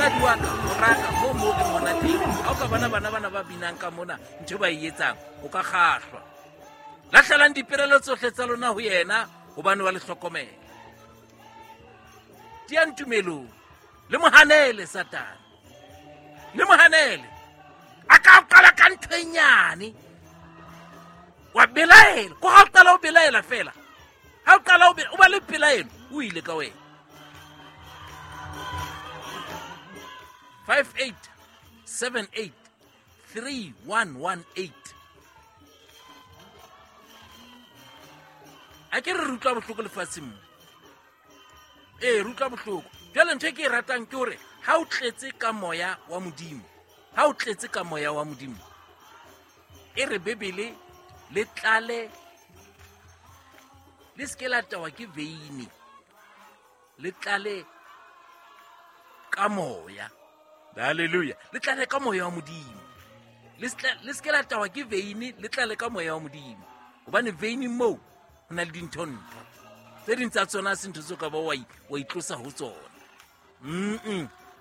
Moradi wa ka, moraka, moo moo ke mona teng. Ha o ka bona bana bana ba binang ka mona, ntho e ba e etsang, o ka kgahlwa. Lahlelang diperelo tsohle tsa lona ho yena, hobane wa le hlokomela. Tiang tumelong, le mo hanele Satane. Le mo hanele. A ka o qala ka ntho e nyane. Wa belaela. Ko ha o qala o belaela fela. Ha o qala o ba le pelaelo, o ile ka wena. 5878 3118. A ke re utlwa bohloko lefatsheng mo. Ee, re utlwa bohloko. Jwale ntho e ke e ratang ke hore ha o tletse ka moya wa Modimo, ha o tletse ka moya wa Modimo, e re Bibele le tlale, le se ke la tawa ke veine, le tlale ka moya. Hallelujah. Le tlale ka moya wa Modimo. Le se ke la tawa ke veine, le tlale ka moya wa Modimo. Hobane veine moo ho na le dintho-ntho. Tse ding tsa tsona ha se ntho tseo ka ba wa itlosa ho tsona.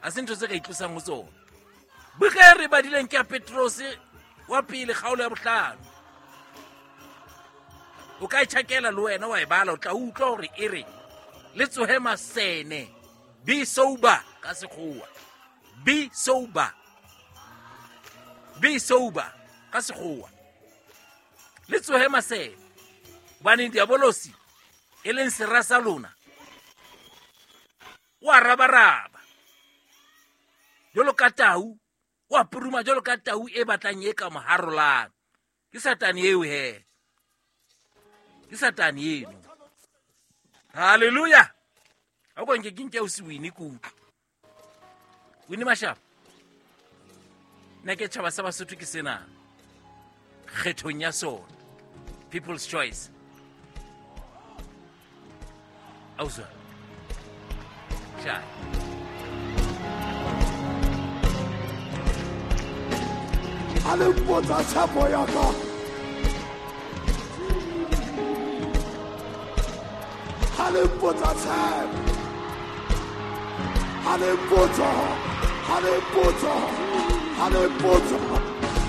Ha se ntho tse ka itlosang ho tsona. Buka e re badileng ke ya Petrose wa pele kgaolo ya bohlano. O ka e tjhakela le wena wa e bala, o tla utlwa hore e re le tsohe masene, be sober ka sekgowa. Be sober. Be sober ka sekgowa. Le tsohe masene. Hobane diabolosi e leng sera sa lona o a rabaraba jwalo ka tau, o a puruma jwalo ka tau e batlang e ka mo harolang. Ke Satane eo he. Ke Satane eno. Hallelujah. Ha o ka nke ke nke o se wine ke utlwe. Wine Mashaba. Nna ke tjhaba sa Basotho ke sena. Kgethong ya sona. People's choice. Ausa. Tjha. Ha le mpotsa tshepo ya ka. Ha le mpotsa tshepo. Ha le mpotsa, ha le mpotsa, ha le mpotsa.